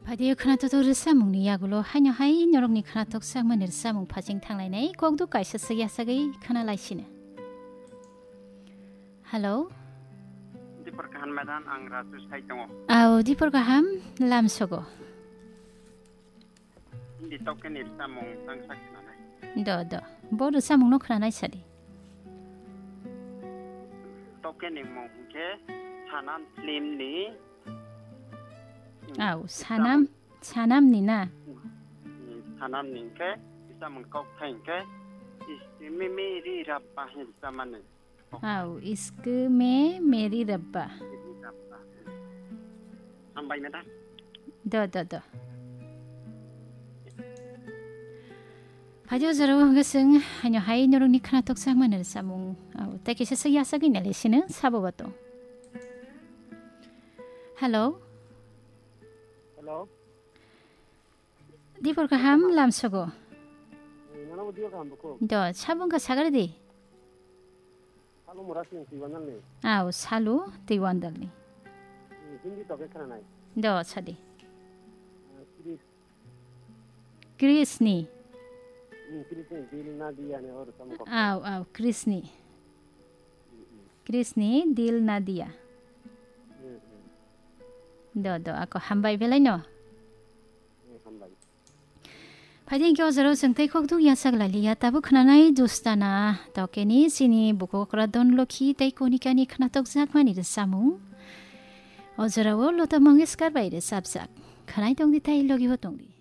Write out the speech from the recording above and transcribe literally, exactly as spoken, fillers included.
Phaidi khwnatok rwchapmungni yagulo haino hai norokni khwnatok chakmani rwchapmung phaching thanglainai kokduk kaisa se yachagwi khwnalaisino. Hello? Dipor kaham madam, ang Raju sai tongo. Au, dipor kaham, lamsogo. Hindi tokeni rwchapmung tangsa khwnanai. Do, do. Bo rwchapmungno khwnanai sadi. Tokeni mung hwnkhe Sanam filmni. Au, Sanam, Sanamni na? Hmm, Sanamni hwnkhe, rwchapmung kokthai hwnkhe, Isti Mimi Ri Rabba hwnwi rwchapmani. Au, Isti Mimi Ri Rabba. Ri Rabba. Hambai madam. Do, do, do. Phaidi o jorao hwnkhe chwng haino hai norokni khwnatok chakmani rwchapmung. Au, tei kisa se yachagwi nalaisino sabo bato. Hello? Hello? Dipor kaham lamsogo. Nono bo dio kaham buko. Do, sabung ka sagari di. Salu mura sing tiwanal ni. Au, salu tiwandal ni. Hindi toke khana nai. Do, sadi. Chris. Chris ni. Hmm, Chris ni, Dil na dia ni or samu kok. Au, au, Chris ni. Chris ni, Dil na dia. Hmm, hmm. Do, do, ako hambai belai no. Hmm, hambai. Phaidi hwnkhe o jorao chwng tei khokduk yachak lailiya, tabuk khwnanai Dustana tokeni chini bukhukra Dhonlokhi tei Konikani khwnatok jakmani rwchapmung. O jorao Lota Mangeshkar bai rwchapjak. Khwnai tongdi tei logi bo tongdi.